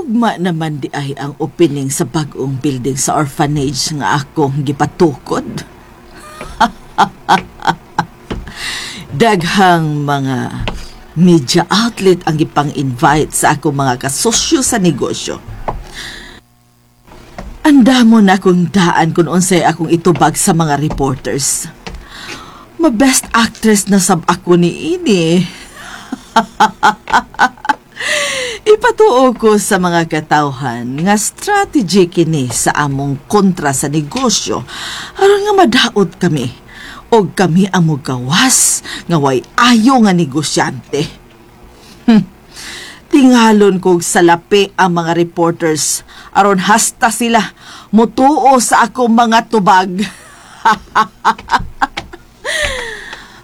Ugma naman di ay ang opening sa bag-ong building sa orphanage nga akong gipatukod. Daghang mga media outlet ang gipang-invite sa akong mga kasosyo sa negosyo. Andamo na akong daan kung unsay akong itubag sa mga reporters. Ma-best actress na sab ako ni ini. Ipatuo ko sa mga katawhan nga strategy kini sa among kontra sa negosyo aron nga madaot kami og kami ang mogawas nga way ayo nga negosyante. Tingalon kog salapi ang mga reporters aron hasta sila mutuo sa akong mga tubag.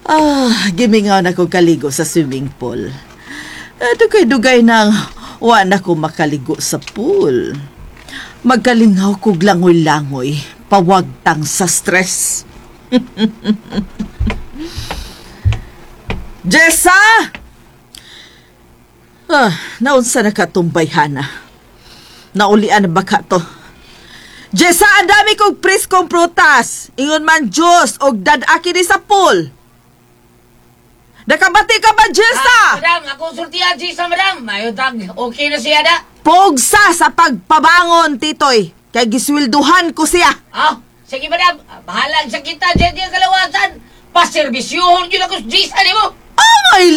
Ah, gimingaw na ko kaligo sa swimming pool. Eh, dugay-dugay nang wa na ko makaligo sa pool. Magkalingaw kog langoy-langoy, pawagtang sa stress. Jessa! Ah, naunsa na katumbay, Hana? Naulian na ba ka to? Jessa, ang dami kong preskong prutas. Ingon man juice og dad-aki ni sa pool. Nakabati ka ba, Jessa? Ah, madam, akong sultihan si isa, madam. Mayo tag, okay na siya da. Pugsa sa pagpabangon, Titoy. Kay giswelduhan ko siya. Ah, sige, madam. Ah, bahalag sa kita dyan dyan kalawasan. Paservisyohon yun ako sa Gisa nimo. Oh my